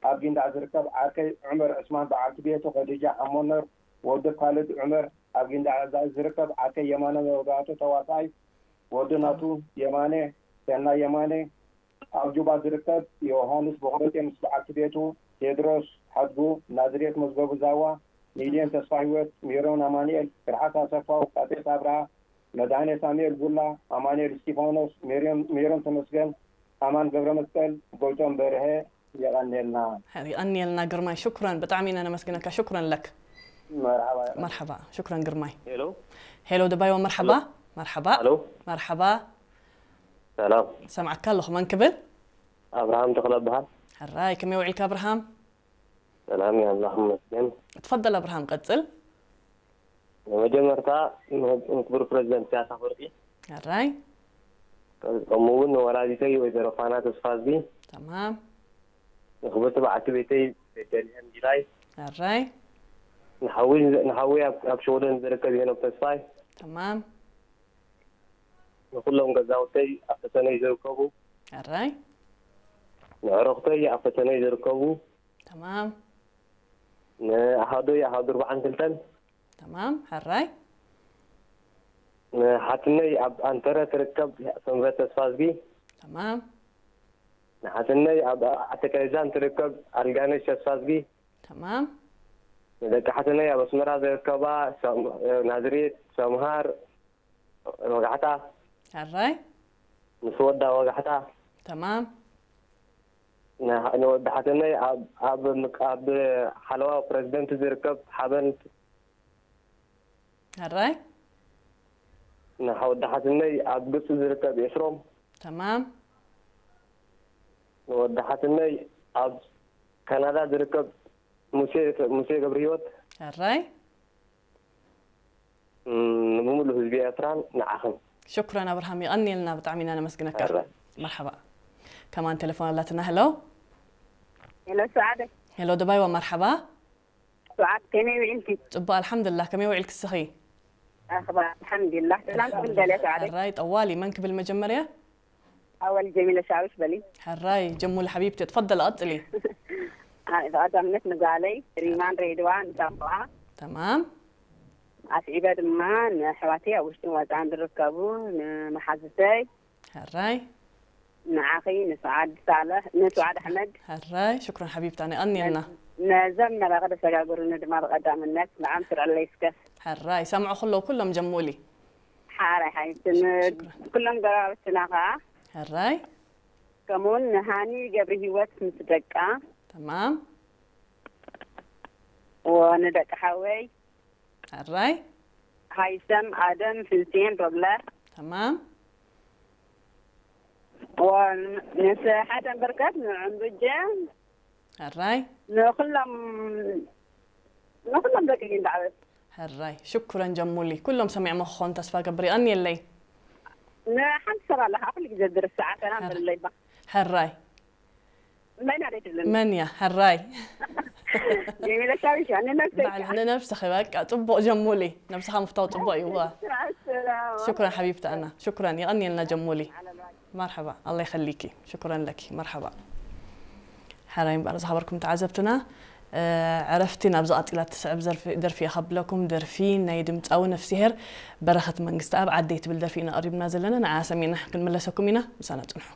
ኣብ ጊንዳዕ ዝርከብ ዓርከይ ዑመር ዕስማን በዓልቲ ቤቱ ኸዲጃ ሓሞነር፣ ወዲ ካልድ ዑመር፣ ኣብ ጊንዳዕ ዝርከብ ዓርከይ የማነ መብራህቱ ተዋሳኣይ፣ ወዲ ናቱ የማነ፣ ሰናይ የማነ፣ ኣብ ጁባ ዝርከብ ዮሃንስ ቦኽረቴ ምስ በዓልቲ ቤቱ፣ ቴድሮስ ሓድጉ፣ ናዝሬት መዝገቡ ዛዋ፣ ሚልዮን ተስፋ ህይወት፣ ሜሮን ኣማኑኤል፣ ትርሓስ ኣሰፋው፣ ቃጤስ ኣብርሃ፣ መድሃኔ ሳሙኤል ቡላ፣ ኣማኑኤል እስጢፋኖስ፣ ሜሮን፣ ሜሮን ተመስገን፣ ኣማን ገብረ መስቀል፣ ጎይቶም በርሀ፣ የቐንየልና። ይቐንየልና ግርማይ፣ ሽኩረን፣ ብጣዕሚ ኢና ነመስግነካ። ሽኩረን ለክ። መርሓባ፣ ይቐንየልና። መርሓባ፣ ሽኩረን ግርማይ። ሄሎ። ሄሎ ደባይዋ፣ መርሓባ። ሄሎ። መርሓባ። ሄሎ። መርሓባ። ሰላም። ሰምዓካ ኣለኹ፣ መን ክብል? ኣብርሃም ተኽለ እበሃል። ሕራይ፣ ከመይ ውዒልካ ኣብርሃም? ሰላም፣ ኣምላኽ ይመስገን። ትፈደል ኣብርሃም፣ ቀጽል። ንመጀመርታ ንክቡር ፕረዚደንት ኢሳያስ ኣፈወርቂ፣ ሕራይ። ከምኡ እውን ንወላዲተይ ወይዘሮ ፋና ተስፋዝጊ፣ ተማም። ንክብርቲ በዓልቲ ቤተይ ቤተልሔም ጊላይ፣ ሕራይ። ንሓዊ፣ ንሓዊ ኣብ፣ ኣብ ሽወደን ዝርከብ ሄኖክ ተስፋይ፣ ተማም። ንኩሎም ገዛውተይ ኣብ ፈተነይ ዝርከቡ፣ ሕራይ። ንዕረኽተይ ኣብ ፈተነይ ዝርከቡ፣ ተማም። ንኣሃዶይ ኣሃዱ ኣርባዓን ክልተን፣ ተማም። ሕራይ። ንሓትነይ ኣብ ኣንተረ ትርከብ ሰንበት ተስፋዝጊ፣ ተማም። ንሓትነይ ኣብ ዓተካይዛን ትርከብ ኣልጋነሽ ተስፋዝጊ፣ ተማም። ንደቂ ሓትነይ ኣብ ኣስመራ ዝርከባ ሰም-፣ ናዝሬት፣ ሰምሃር፣ ወጋሕታ፣ ሕራይ። ምስ ወዳ ወጋሕታ፣ ተማም። ንሓ-፣ ንወዲ ሓትነይ ኣብ፣ ኣብ ምቅ-፣ ኣብ ሓለዋ ፕረዚደንት ዝርከብ ሓበን፣ ሕራይ። ንሓ-፣ ወዲ ሓትነይ ኣብ ግብፂ ዝርከብ ኤፍሮም፣ ተማም። ንወዲ ሓትነይ ኣብ ካናዳ ዝርከብ ሙሴ፣ ሙሴ ገብረ ህይወት፣ ሕራይ። እም፣ ንምሉእ ህዝቢ ኤርትራን ንዓኽን። ሽኩረን ኣብርሃም፣ የቐንየልና፣ ብጣዕሚ ኢና ነመስግነካ። ሕራይ። መርሓባ። ከማን ቴሌፎን ኣላትና። ሄሎ። ሄሎ፣ ሰዓደ። ሄሎ፣ ደባይዋ፣ መርሓባ። ሰዓድ፣ ከመይ ውዒልኪ? ጽቡቕ፣ ኣልሓምዱሊላህ። ከመይ ውዒልኪ እስኺ? ኣኽባር፣ ኣልሓምዱሊላህ። ሰላም ክብል ደልየ፣ ሰዓደ። ሕራይ፣ ጠዋሊ፣ መን ክብል መጀመርያ? ኣወል ጀሚለ ሻውሽ በሊ። ሕራይ፣ ጀሙሊ ሓቢብቲ፣ ትፈደል፣ ቀጽሊ። ኣይ፣ ብቐዳምነት ንጓለይ፣ ሪማን ሬድዋን፣ ንሳቋ። ተማም። ኣስዒበ ድማ ንኣሕዋተይ ኣብ ውሽጥን ወጻን ዝርከቡ፣ ንመሓዙተይ። ሕራይ። ንዓኺ፣ ንሰዓድ ሳልሕ፣ ንሰዓድ ኣሕመድ። ሕራይ፣ ሽኩረን ሓቢብታ፣ የቐንየልና። ነዝ-፣ ነዘም መራኸቢ ዘሰጋገሩኒ ድማ ብቐዳምነት ንዓም ስርዐለይ እስከ። ሕራይ፣ ይሰምዑ ከለዉ ኩሎም ጀሙሊ። ሓራይ ሓይስን ሽክራን። ኩሎም ጎረባብትና ኸዓ። ሕራይ። ከምኡውን ንሃኒ ገብረ ህይወት ምስ ደቃ። ተማም። ወንደቂ ሓወይ። ሕራይ። ሃይሰም፣ ኣደም፣ ፍልስጤን፣ ሮብለ። ተማም። ወንስ ሓሰን በርከት፣ ንዕንዱጀ። ሕራይ። ንኹሎም፣ ንኹሎም ደቂ ጊንዳዕበት። ሕራይ። ሽኩረን ጀሙሊ። ኩሎም ሰሚዖሞ ክኾኑ ተስፋ ገብር። የቐንየለይ። ንሓንቲ ሰብ ኣለኻ፣ ኩሉ ግዜ ዝርስዓ፣ ሰላም ሕራይ። በልለይ ባ። ሕራይ። መን እያ ደይትብለኒ? መን እያ? ሕራይ። ጀሚለ ሻዊሻ፣ ንነብሰይ ባዕል ከዓ። ንነብስኺ፣ በቃ፣ ጽቡቕ ጀሙሊ። ነብስኻ ምፍታው ጽቡቕ እዩ፣ እዋ። ሰላም። ሽኩረን ሓቢብቲ ኣና። ሽኩረን፣ የቐንየልና ጀሙሊ። መርሓባ፣ ኣላህ ይኸሊኪ። ሽኩረን ለኪ። መርሓባ። ሕራይ እምበኣር ዝኸበርኩም ተዓዘብትና፣ እ፣ ዕረፍቲ ናብዚ ቀጺላ እትስዕብ ዘርፊ-፣ ደርፊ እየ ከብለኩም። ደርፊ ናይ ድምጻዊ ነፍስሄር በረኸት መንግስተኣብ ዓደይ ትብል ደርፊ ኢና ቀሪብና ዘለና። ንዓ ሰሚዕና ክንምለሰኩም ኢና። ምሳና ጽንሑ።